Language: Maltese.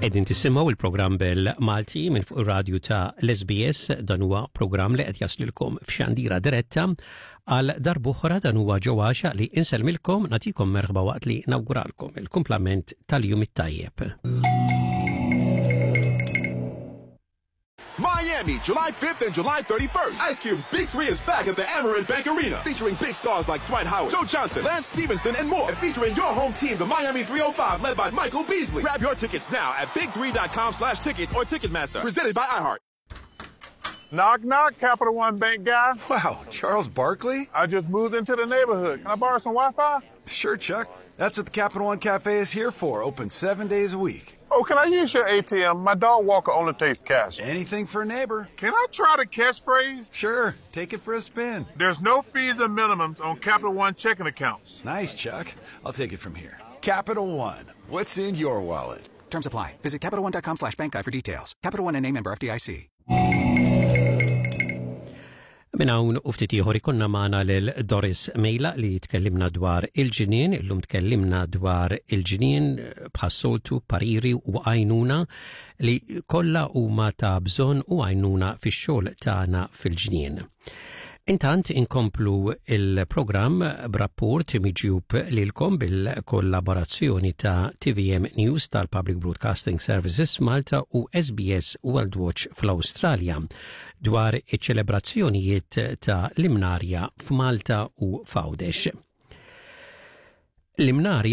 Qegħdin tisimgħu il-programm bil-Malti minn fuq ir-radju ta' l-SBS dan huwa programm li qed jaslilkom f'xandira diretta għal darb'oħra dan huwa ġewwaxa li insellmilkom nagħtikom merħba waqt li nawguralkom il-kumplament tal-jum it-tajjeb. Miami, July 5th and July 31st. Ice Cube's Big Three is back at the Amarin Bank Arena, featuring big stars like Dwight Howard, Joe Johnson, Lance Stephenson, and more. And featuring your home team, the Miami 305, led by Michael Beasley. Grab your tickets now at big3.com slash tickets or Ticketmaster. Presented by iHeart. Knock, knock, Capital One Bank guy. Wow, Charles Barkley? I just moved into the neighborhood. Can I borrow some Wi Fi? Sure, Chuck. That's what the Capital One Cafe is here for, open seven days a week. Oh, can I use your ATM? My dog walker only takes cash. Anything for a neighbor. Can I try the catchphrase? Sure, take it for a spin. There's no fees and minimums on Capital One checking accounts. Nice, Chuck. I'll take it from here. Capital One. What's in your wallet? Terms apply. Visit CapitalOne.com slash bank guy for details. Capital One and a member FDIC. Minn hawn u ftit ieħor ikonna magħna lil Doris Mejla li tkellimna dwar il-ġnien, illum tkellimna dwar il-ġnien bħas-soltu pariri u għajnuna li kollha huma ta' bżonn u għajnuna fix-xogħol tagħna fil-ġnien. Intant inkomplu il-programm b'rapport miġjub lilkom bil-kollaborazzjoni ta' TVM News tal-Public Broadcasting Services Malta u SBS World Watch fl-Awstralja dwar iċ-ċelebrazzjonijiet ta' l-Imnarja f'Malta u f'Għawdex. L-Imnarja